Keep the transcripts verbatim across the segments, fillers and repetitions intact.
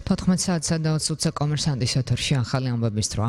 თოთხმეტ საათსა და ოცი ოცი კომერსანტის ეთერში ახალი ამბების დროა.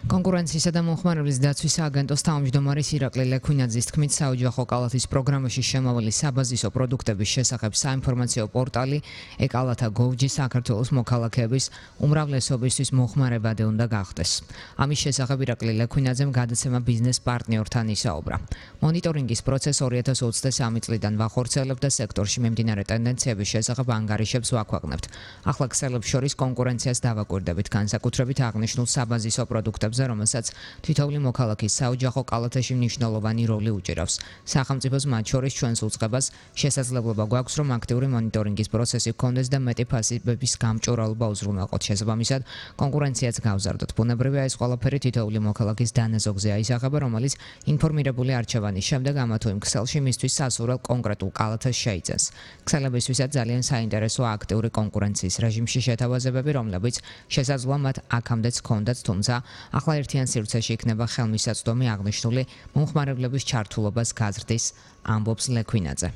კონკურენციისა და მომხმარებლის დაცვის სააგენტოს თავმჯდომარის ირაკლი ლექვინაძის თქმით, საოჯახო კალათის პროგრამაში შემავალი საბაზისო პროდუქტების შესახებ საინფორმაციო პორტალი ეკალათა გოვჯი საქართველოს მოქალაქეების უმრავლესობისთვის მოხმარებადი უნდა გახდეს. ამის შესახებ ირაკლი ლექვინაძემ გადაცემა ბიზნეს პარტნიორთან ისაუბრა. მონიტორინგის პროცესს ორი ათას ოცდასამი წლიდან ვახორციელებთ და სექტორში მიმდინარე ტენდენციების შესახებ ანგარიშებს ვაქვეყნებთ. ახლა ქსელებს შორის კონკურენციას დავაკვირდებით, განსაკუთრებით აღნიშნულ საბაზისო პროდუქტებს, რომელსაც თითოეული მოქალაქის საოჯახო კალათაში მნიშვნელოვანი როლი უჭირავს. სახელმწიფოს მათ შორის ჩვენს უწყებას შესაძლებლობა გვაქვს, რომ აქტიური მონიტორინგის პროცესი გქონდეს და მეტი ფასებების გამჭვირვალობა უზრუნველყოთ. შესაბამისად, კონკურენციაც გავზარდოთ. ბუნებრივია, ეს ყველაფერი თითოეული მოქალაქის დანაზოგზე აისახება, რომელიც ინფორმირებული არჩევანის შემდეგ ამა თუ იმ ქსელში მისთვის სასურველ კონკრეტულ კალათას შეიძენს. ქსელებისთვისაც ძალიან საინტერესოა აქტიური კონკურენციის რეჟიმში შეთავაზებები, რომლებიც შესაძლოა მათ აქამდეც ჰქონდათ, თუმცა ახლა ერთიან სივრცეში იქნება ხელმისაწვდომი აღნიშნული მომხმარებლების ჩართულობას გაზრდის, ამბობს ლექვინაძე.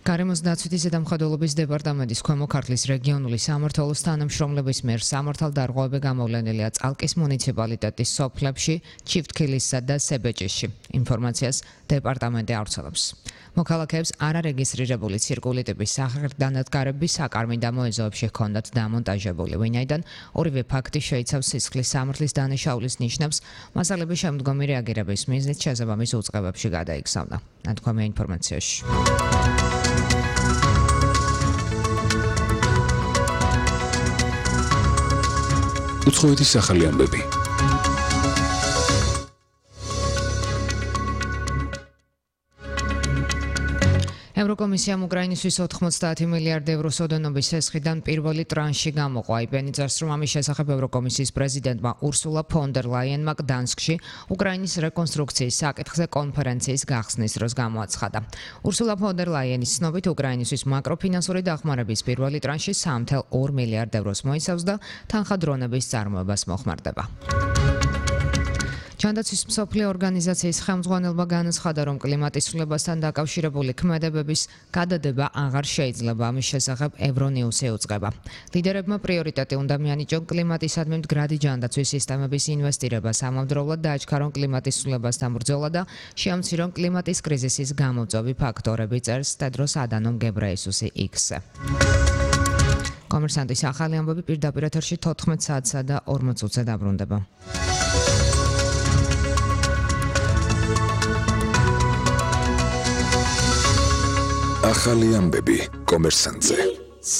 გარემოს დაცვითი ზედამხედველობის დეპარტამენტის ქვემო ქართლის რეგიონული სამმართველოს თანამშრომლების მიერ სამართალდარღვევები გამოვლენილია წალკის მუნიციპალიტეტის სოფლებში, ჩიფტქილისსა და სებეჭისში. ინფორმაციას დეპარტამენტი ავრცელებს. მოქალაქეებს არარეგისტრირებული ცირკულიტების სახელდანადგარები საკარმი დამოეზოებში ჰქონდათ დამონტაჟებული, ვინაიდან ორივე ფაქტი შეიცავს სისხლის სამართლის დანაშაულის ნიშნებს, მასალები შემდგომი რეაგირების მიზნით შესაბამის უწყებებში გადაიგზავნა. ნათქვამია ინფორმაციაში. უცხოეთის ახალი ამბები. ევროკომისიამ უკრაინისთვის ოთხმოცდაათი მილიარდი ევროს ოდენობის სესხიდან პირველი ტრანში გამოყო. აიბენი წერს, რომ ამის შესახებ ევროკომისიის პრეზიდენტმა ურსულა ფონ დერ ლაიენმა გდანსკში უკრაინის რეკონსტრუქციის საკითხზე კონფერენციის გახსნის დროს გამოაცხადა. ურსულა ფონ დერ ლაიენის ცნობით, უკრაინისთვის მაკროფინანსური დახმარების პირველი ტრანში სამი წუთი ორი მილიარდ ევროს მოიცავს და თანხადრონების წარმოებას მოხმარდება. ჯანდაცვის მსოფლიო ორგანიზაციის ხელმძღვანელობა განაცხადა, რომ კლიმატის ცვლილებასთან დაკავშირებული ქმედებების გადადება აღარ შეიძლება. ამის შესახებ ევრონიუსი უწყება. ლიდერებმა პრიორიტეტი უნდა მიანიჭონ კლიმატისადმი მდგრადი ჯანდაცვის სისტემების ინვესტირებას, ამავდროულად დააჩქარონ კლიმატის ცვლილებასთან ბრძოლა და შეამცირონ კლიმატის კრიზისის გამომწვევი ფაქტორები, წერს ტედროს ადანომ გებრეესუსი იქსზე. კომერსანტის ახალი ამბები პირდაპირ ეთერში თოთხმეტ საათსა და ორმოც ოცზე დაბრუნდება. ახალი ამბები კომერსანტზე.